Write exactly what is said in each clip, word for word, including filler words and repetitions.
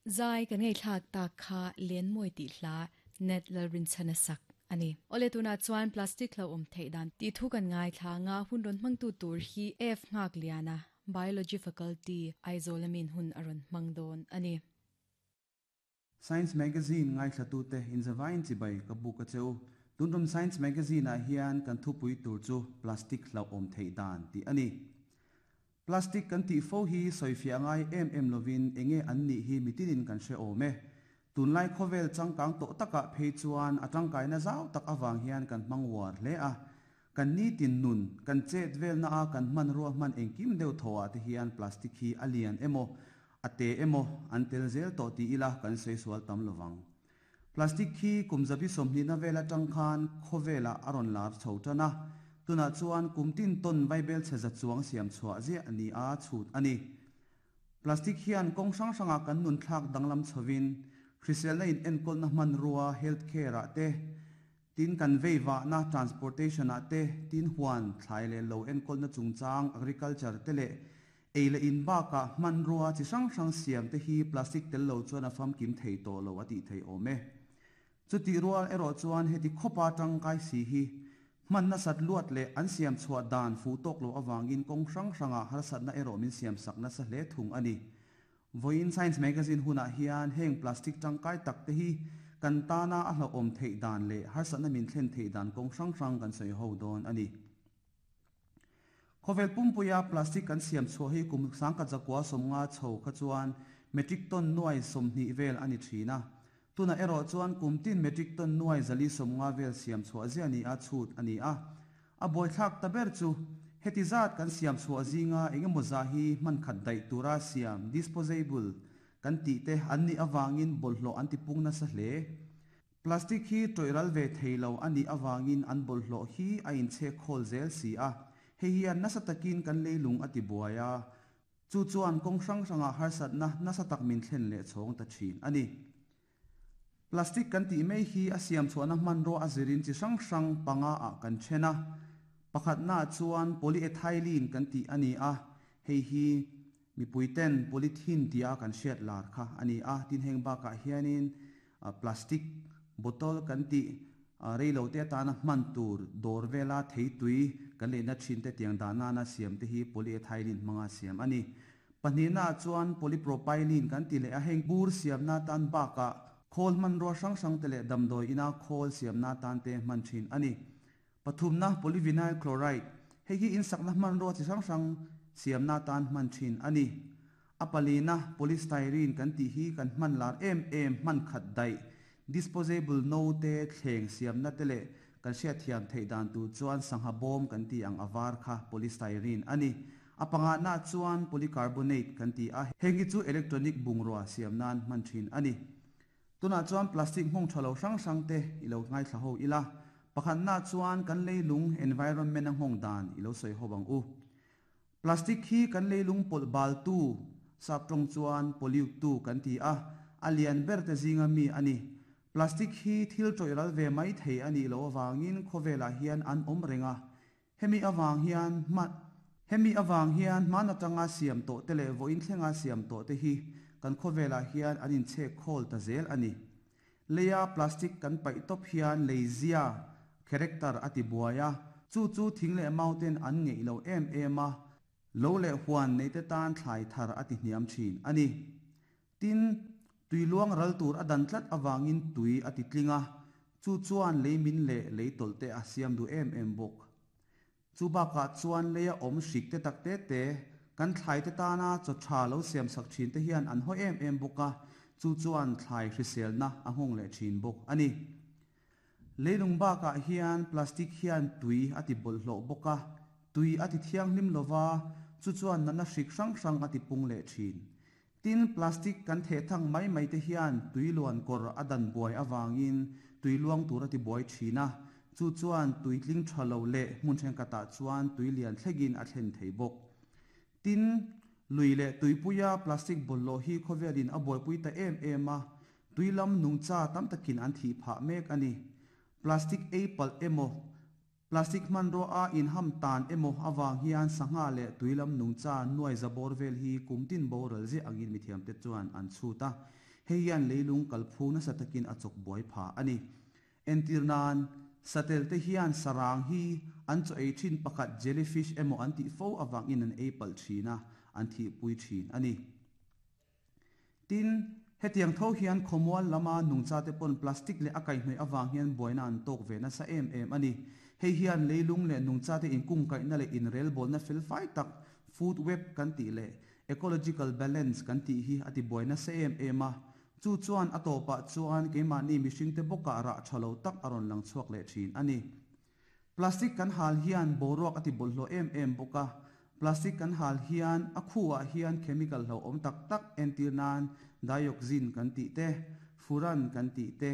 Zai kan ngei thlak tak kha len moi ti hla net lalrin chana sak ani. Ole tuna chuan plastic lo om thei dan ti thu kan ngai thla nga hun ron mang tu tur hi F ngak liana biology faculty Aizawl amin hun aron mangdon ani. Science Magazine ngai thlatu te inzavain chibai ka bu ka cheu tuntum Science Magazine a hian kan thupui tur chu plastic lo om thei dan ti ani. Plastic kan ti fo hi soifia ngai em em lovin enge an ni hi mitinin kan hre ome tunlai khovel changkang to taka phei chuan atangkai na zau tak awang hian kan mangwar hle a kan ni tin nun kan chet vel na a kan man ro man engkim deuh thoa te hian plastic hi alian emo ate emo antel zel to ti ila kan sei sual tam lowang. Plastic hi kumzabi somni na vela tangkhan khovela aron lar chhotana tuna chuan kumtin ton vaibel cheza chuang siam chhuwa zia ani a chhut ani. Plastic hian kong sang sanga kan nun thlak danglam chhovin hrisel na in enkol na man ruwa health care a te tin kan veiwa na transportation a te tin huan thlai le lo enkol na chungchang agriculture te le eile in ba ka man ruwa chi sang sang siam te hi plastic tel lo chuan a fam kim thei to lo ati thei ome chuti rual ero chuan heti khopa tangkai si hi man na sat luat le an siam chhuwa dan fu tok lo awangin kong sang sanga har sat na ero min siam sak na sa hle thung ani. Voin Science Magazine huna hian heng plastic tangkai tak te hi kan ta na a hlo om thei dan le har sat na min thlen thei dan kong sang sang kan sei ho don ani. Khovel pumpuya plastic kan siam chho hi kum sangka zakwa somnga chho kha chuan metric ton nuai somni vel ani thina tuna ero chuan kumtin metric ton nuai zali somnga vel siam chho azia ni a chhut ani a a boi thak taber chu hetizat kan siam chho azinga engemaw za hi man khat dai tura siam disposable kan ti te anni awangin bolhlo anti pungna sa hle. Plastic hi toiral ve theilo ani awangin an bolhlo hi a in che khol zel si a hei hian nasa takin kan leilung ati buaya chu chuan kong hrang hranga harsat na nasa tak min thlen le chhong ta thin ani. Plastic kan ti mei hi a siam chuan a man ro a zirin chi hrang hrang panga a kan thena pakhat na chuan polyethylene kan ti ani a hei hi mi puiten polythene tia kan hriat lar kha ani a tin heng ba ka hianin plastic bottle kan ti reilo te tana man tur dor vela thei tui kan le na thin te tiang dana na siam te hi polyethylene manga siam ani. Panina chuan polypropylene kan ti le a heng bur siam na tan ba ka khol man ro sang sang te le damdoi ina khol siam na tan te man thin ani. Pathum na polyvinyl chloride hei hi in sakna man ro chi sang sang siam na tan man thin ani. Apalina polystyrene kan ti hi kan man lar em em man khat dai disposable no te thleng siam na tele kan sia thiam thei dan tu chuan sangha bom kan ti ang awar kha polystyrene ani. Apanga na chuan polycarbonate kan ti a hengi chu electronic bungrua siam nan man thin ani. Tuna chuan plastic hmong thalo sang sang te ilo ngai thla ho ila pakhat na chuan kan leilung environment ang hong dan ilo soi ho bang u. Plastic hi kan leilung pol bal tu saptong chuan pollute tu kan ti a alian ber te zinga mi ani. Plastic hi thil toiral ve mai thei ani lo awangin khovela hian an om renga hemi awang hian ma hemi awang hian mana tanga siam to tele voin thlenga siam to te hi kan khovela hian anin che khol ta zel ani. Leya plastic kan pai top hian leizia character ati buaya chu chu thingle mountain an ngei lo em em a lo le huan nei te tan thlai thar ati hniam thin ani. Tin tuiluang ral tur adan tlat awangin tui ati tlinga chu chuan leimin le leitolte a siam du em em bok chu ba ka chuan leya om hrik te tak te te kan thlai te ta na chaw tha lo siam sak thin te hian an ho em em boka chu chuan thlai hrisel na a hong le thin bok ani. Leilung ba ka hian plastic hian tui ati bol hlo boka tui ati thiang hlim lova chu chuan na na hrik sang sang ati pung le thin. Tin plastic kan the thang mai mai te hian tuiluan kor adan buai awangin tuiluang tur ati buai thina chu chuan tuitling thalo le hmun then kata chuan tuilian thlegin a thlen thei bok. Tin lui le tuipuya plastic bollo hi khovelin a buai pui ta em em a tuilam nungcha tam takin an thi pha mek ani. Plastic a pal emo plastic man ro a in ham tan emo awang hian sanga le tuilam nungcha nuai zabor vel hi kumtin boral ze angin mithiam te chuan an chuta. Hei hian leilung kalphung nasa takin a chawk buai pha ani. Entirnan satel te hian sarang hi an chaw ei thin pakhat jellyfish emaw an tih fo awangin an ei palh thina an thi pui thin ani. Tin hetiang tho hian khawmual lama nungcha te pawn plastic leh a kaihhnawih awang hian buaina an tawk ve nasa em em ani. Hei hian leilung leh nungcha te inkung kaihna leh inrelbawlna fel fai tak food web kan tih leh ecological balance kan tih hi a ti buai nasa em em a. Chu chuan a tawpah chuan keimahni mihring te bawkah rah tha lo tak a rawn lang chhuak leh thin ani. Plastic kan hal hian boruak a ti bawlhhlawh em em bawk a. Plastic kan hal hian a khuah hian chemical hlo awm tak tak entir nan dioxin kan tih te, furan kan tih te,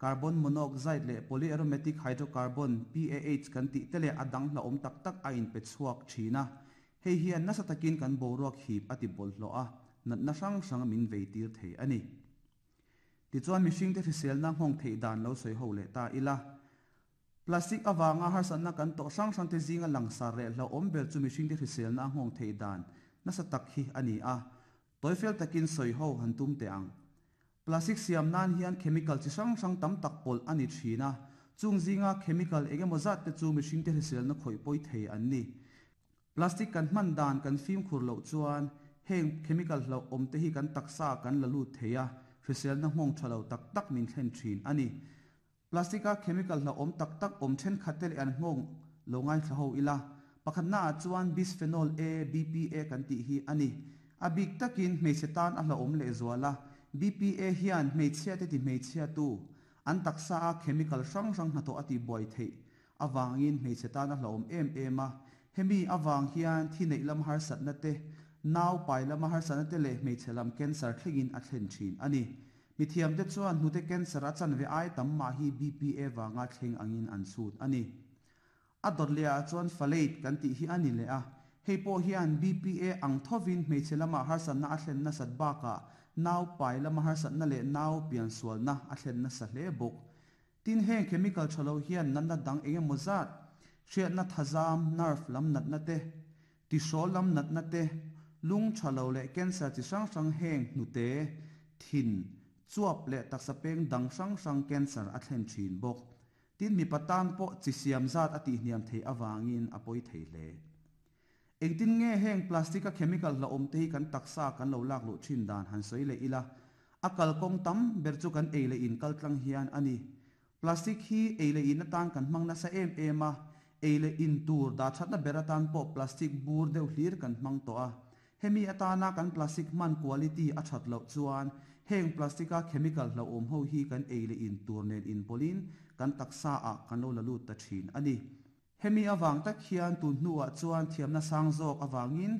carbon monoxide leh polyaromatic hydrocarbon P A H kan tih te leh a dang hla awm tak tak a inpe chhuak thina. Hei hian nasa takin kan boruak hip a ti bawlhhlawh a, natna hrang hrang min vei tir thei ani. Tichuan mihring te hriselna nghawng theih dan lo sawi ho leh ta ila. Plastic awanga harsatna kan tawh hrang hrang te zinga langsar leh hlo awm ber chu mihring te hriselna nghawng theih dan nasa tak hi ani a. Toifel takin sawi ho han tum te ang. Plastic siam nan hian chemical chi hrang hrang tam tak pawlh ani thina. Chung zinga chemical engemaw zat te chu mihring te hriselna khawih pawi thei an ni. Plastic kan hman dan kan fim khur loh chuan heng chemical hlo awm te hi kan taksa kan la lut thei a, hriselna nghawng tha lo tak tak min thlen thin ani. Plastic a chemical hlo awm tak tak awm then khat te leh an nghawng lo ngai thla ho ila. Pakhatna ah chuan bisphenol A, B P A kan tih hi ani. A bik takin hmeichhe tan a hlo awm leh zuala. B P A hian hmeichhia te ti hmeichhia tu an taksa a chemical hrang hrang hnathawh a ti buai theih awangin hmeichhe tan a hlo awm em em a. Hemi awang hian thi neih lam harsatna te, nau pai lama harsatna te leh hmeichhe lam cancer thlengin a thlen thin ani. Mithiam te chuan hnute cancer a chan ve ai tam mah hi B P A wanga thleng angin an chhut ani. A dawt leh ah chuan phthalate kan tih hi ani leh a. Hei pawh hian B P A ang thovin hmeichhe lama harsatna a thlen nasat bakah nau pai lama harsatna leh nau pian sualna a thlen nasa hle bawk. Tin heng chemical thalo hian natna dang engemaw zat hriatna thazam nerve lam natna te, tihrawl lam natna te, lung thalo leh cancer chi hrang hrang heng hnute, thin, chuap leh taksa peng dang hrang hrang cancer a thlen thin bawk. Tin mi patan pawh chi siam zat a tih hniam thei awangin a pawi thei hle. Engtin nge heng plastic a chemical hla awm te hi kan taksa kan lo lak luh thin dan han sawi leh ila. A kalkawng tam ber chu kan ei leh in kal tlang hian ani. Plastic hi ei leh in atan kan hmang nasa em em a. Ei leh in tur dah thatna ber atan pawh plastic bur deuh hlir kan hmang tawh a. Hemi atana kan plastic hman quality a that loh chuan heng plastic a chemical hlo awm ho hi kan ei leh in tur nen in pawlin kan taksa ah kan lo la lut ta thin ani. Hemi awang tak hian tun hnuah chuan thiamna sang zawk awangin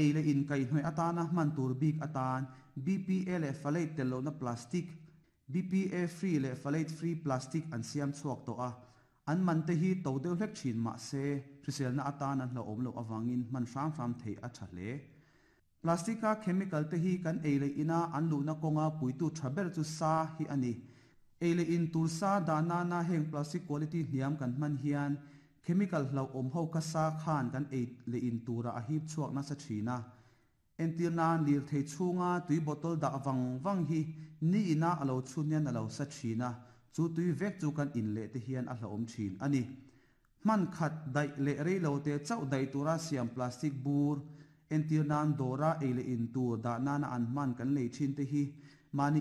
ei leh in kaihhnawih atana hman tur bik atan B P A leh phthalate tel lohna plastic, B P A free leh phthalate free plastic an siam chhuak tawh a. An man te hi to deuh hlek thin mah se hriselna atan an hlo awm loh awangin hman hram hram thei a tha hle. Plastic a chemical te hi kan ei leh ina an luhna kawnga puitu tha ber chu sa hi ani. Ei leh in tur sa dahna na heng plastic quality hniam kan hman hian chemical hlo awm ho ka sa khan kan ei leh in tura a hip chhuak nasa thina. Entir nan lir thei chhunga tui bottle dah wang wang hi ni ina alo chhun hian alo sa thina. Chu tui vek chu kan in leh te hian a hlo awm thin ani. Hman khat daih leh rei lo te chauh daih tura siam plastic bur entir nan dawra ei leh in tur dahna na an hman kan lei thin te hi mani